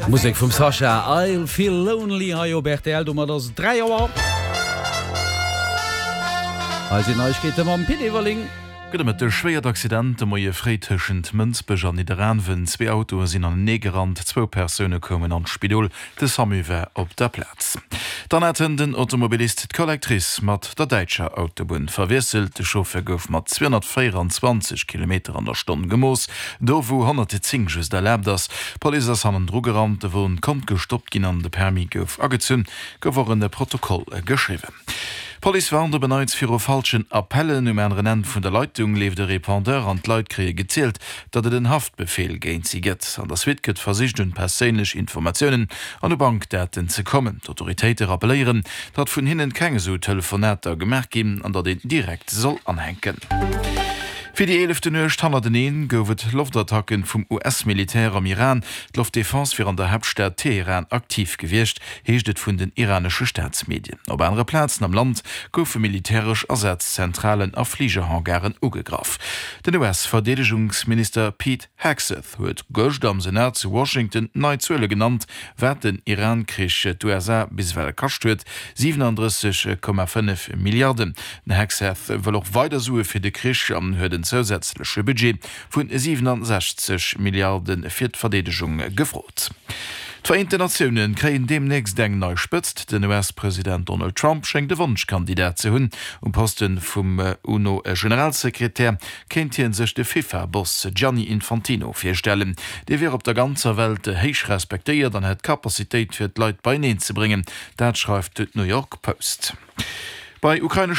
Musek vum Sasha, I'll Feel Lonely hei op rtl. Domat ass et 3 Auer. Hei sinn Neiegkeete mam Pit Everling. Gudde Mëtteg. Schwéiert Accident de Moie fréi tëschent Mënsbech an Nidderaanwen. Zwee Autoe sinn anenee gerannt, zwou Persoune koumen an d'Spidol. De Samu war op der Plaz. Dann hat den Automobilist d'Collectrice mat der däitscher Autobunn verwiesselt. De Chauffeur gouf mat 224 Kilometer an der Stonn gemooss, do wou 110 just erlaabt ass. D'Police ass hannendru gerannt, de Won konnt gestoppt ginn an de Permis gouf agezunn. Gouf och en Protokoll geschriwwen. D'Police warnt op en Neits viru falschen Appellen. Um aneren Enn vun der Leitung leeft e Répondeur an d'Leit kréie gezielt, datt et en Haftbefeel géint si gëtt. An der Suite gëtt versicht un perséinlech Informatiounen an u Bankdaten ze kommen. D'Autoritéite rappelléieren, datt vun hinnen keng esou Telefonater gemaach ginn an datt een direkt soll anhänken. Fir déi eelefte Nuecht hannerteneen gouf et Loftattacken vum US-Militär am Iran. D'Loftdefense wier an der Haaptstad Teheran aktiv gewiescht, heescht et vun den iranesche Staatsmedien. Op anere Plazen am Land goufe militäresch Asazzentralen a Fligerhangaren ugegraff. Den US-Verdeedegungsminister Pete Hegseth huet gëscht am Senat zu Washington nei Zuele genannt, wat den Iran-Krich d'USA bis ewell kascht huet, 37,5 Milliarden. Den Hegseth wëll och weider Sue fir de Krich an huet en zousätzleche Budget vu 67 Milliarde fir d'Verdeedegung gefrot. D'Vereenten Natioune kréien deemnächst eng nei Spëtzt. Den US-President Donald Trump schéngt e Wonschkandidat ze hunn. Um Poste vum UNO-Generalsekretär kéint hie sech de FIFA-Boss Gianni Infantino virstellen. Dee wier op der ganzer Welt héich respektéiert an hätt d'Capacitéit fir d'Leit beieneen ze bréngen. Dat schreift d'New York Post. Bei ukraineschen.